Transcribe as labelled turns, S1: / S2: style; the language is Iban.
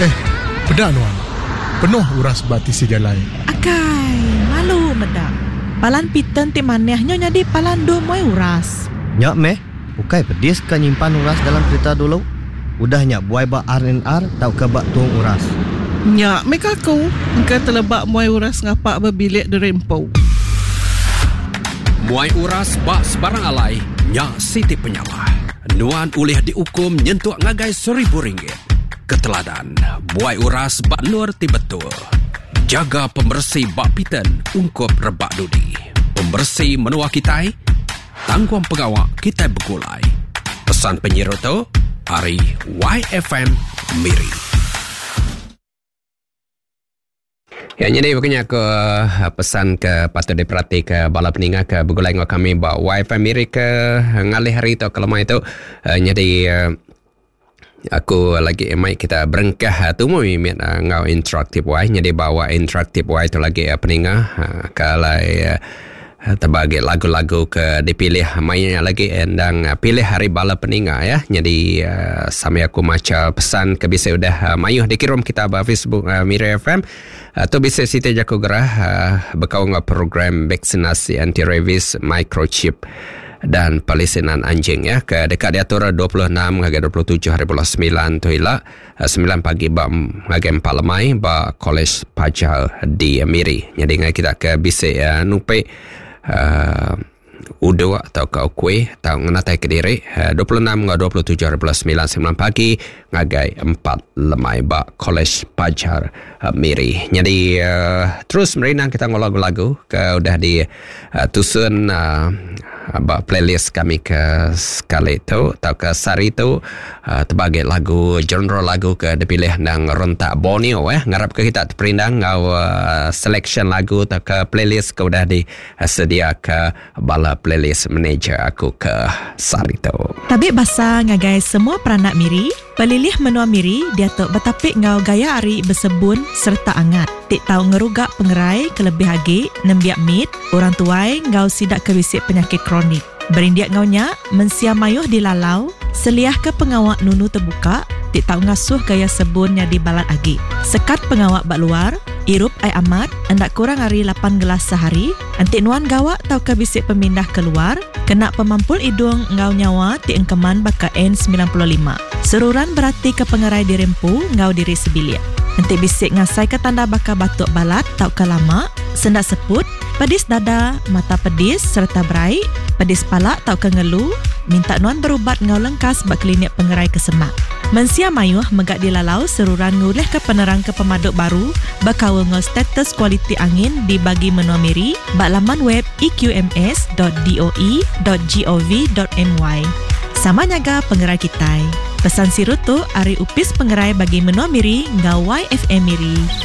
S1: Eh, peda nuan. Penuh uras ba tisi jalai.
S2: Akai, malu meda. Palan Piton ti manah nyo nyadi palan endur muai uras.
S3: Nya meh, ukai pedis ka nyimpan uras dalam kerita dulu, udah nya buai ba RNR tauka ba tung uras.
S4: Nya meh ka aku, engka teleba muai uras ngapa ba bilik diri empu.
S5: Muai uras ba sebarang alai nya siti penyalah. Nuan ulih diukum nyentuk ngagai RM1000. Keteladan, buai uras ba endur ti betul. Jaga pemeresi ba Pitan ungkup rebak dudi. Pemeresi menua kitai, tanggung pengawa kitai begulai. Pesan penyiru tu ari YFM Miri. Ya, jadi bukannya aku eh, pesan ke patut diperhati ke bala peninga ke begulai dengan kami ba YFM Miri ke ngalih hari tu ke lemai tu. Eh, jadi eh, aku lagi mai kita berengkah tumu mimit enggau interaktif Y. Jadi bawa interaktif Y tu lagi peninga kalai tebagi lagu-lagu ke dipilih maya nya lagi endang pilih ari bala peninga ya. Jadi sambil aku macha pesan ke bisi udah mayuh dikirum kita ba Facebook Miri FM. Tu bisi siti jaku gerah bekaul enggau program vaksinasi anti rabies microchip dan pelisinan anjing ya ke deka diatur 26 ngagai 27 hari bulan 9 tu ila 9 pagi ba ngagai 4 lemai ba Kolej Pajar di Miri. Jadi ngai kita ke bisi nupi uh, uduk atau ke ukui atau ngenatai ke diri 26 enggau 27 hari bulan 9 9 pagi ngagai 4 lemai ba Kolej Pajar Miri. Jadi uh, terus merindang kita enggau lagu-lagu ke udah di uh, tusun uh, ba playlist kami ke sekali tu atau ke sehari tu uh, terbagi lagu genre lagu ke dipilih nang rentak Borneo eh ngarap ke kita terperindang enggau uh, selection lagu atau ke playlist ke udah disedia ke bala playlist manager aku ke sehari tu.
S2: Tabi basa ngagai semua peranak Miri. Pelilih menua Miri diatu betapi enggau gaya hari besebun sereta angat ti tau ngeruga pengerai kelebih agi nembiak mit, orang tuai enggau sida ke bisi penyakit kronik. Berindik enggau nya, mensia mayuh dilalau seliahka pengawa nunu tebuka ti tau ngasuh gaya sebun nyadi balat agi. Sekat pengawa ba luar, irup ai amat enda kurang ari lapan gelas sehari, Enti nuan gawa tauka bisi pemindah ke luar, kena pemampul idung enggau nyawa ti engkeman baka N95. Seruran beratika pengerai diri empu enggau diri sebilik. Enti bisi ngasaika tanda baka batuk balat tauka lama, senda seput, pedis dada, mata pedis sereta berai, pedis pala tauka ngelu, minta nuan berubat enggau lengkas ba klinik pengerai ke semak. Mensia mayuh mega dilalau seruran ngulihka penerang ke pemadu baru bekaul enggau status kualiti angin di Bagi Menua Miri ba laman web eqms dot doe dot gov dot my. Sama nyaga pengerai kitai. Pesan siru tu ari Opis Pengerai Bagi Menua Miri enggau YFM Miri.